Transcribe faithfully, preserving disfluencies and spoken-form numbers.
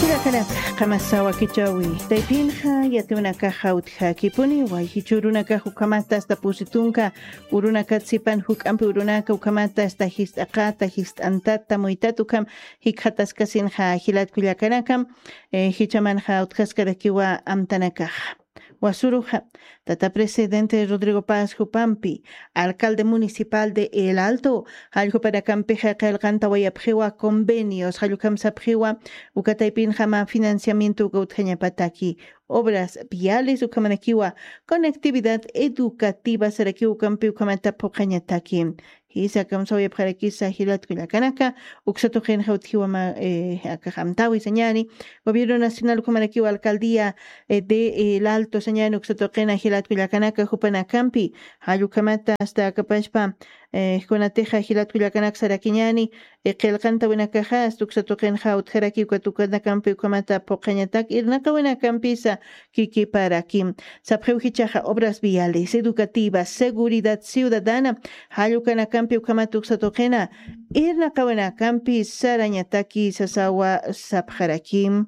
Irakanaka qamasawa kichawi taypinxa yatiwnakaxa utjakipuni wayjichurunakax ukhamata asta pusitunka urunakata sipan juk'ampi urunaka ukhamata asta jist'aqata jist'antata muytata ukham jikxataskasinxa jilatkullakanakam. Jichamanxa utjaskarakiwa amtanakaxa wasuruxa tata presidente Rodrigo Paz jupampi alcalde municipal de El Alto jalljupanakampixay qillqantawayapxiwa convenios jallukhamsapxiwa ukataypinxama financiamiento uka utjañapataki obras viales ukhamanakiwa conectividad educativa sarakiw ukampi ukhamata phuqhañataki. Jisa kamsawayapxarakisa jilatkullakanaka uksatuqinxa utjiwama akaxamtawi sañani gobierno nacional ukhamanakiwa alcaldía de El Alto sañani uksatuqina jilatkullakanaka jupanakampi jallukhamata asta akapashpa kunatixa jilatkullakanak sarakiñani qillqantawinakaxa asta uksatuqinxa utjaraki ukatukanakampi ukhamata phuqhañatak irnaqawinakampisa kikiparakim. Sapxiw jichaxa obras viales educativas seguridad ciudadana jallukanakampi ukhamata uksatuqina irnaqawinakampi sarañataki sasawa sapxarakim.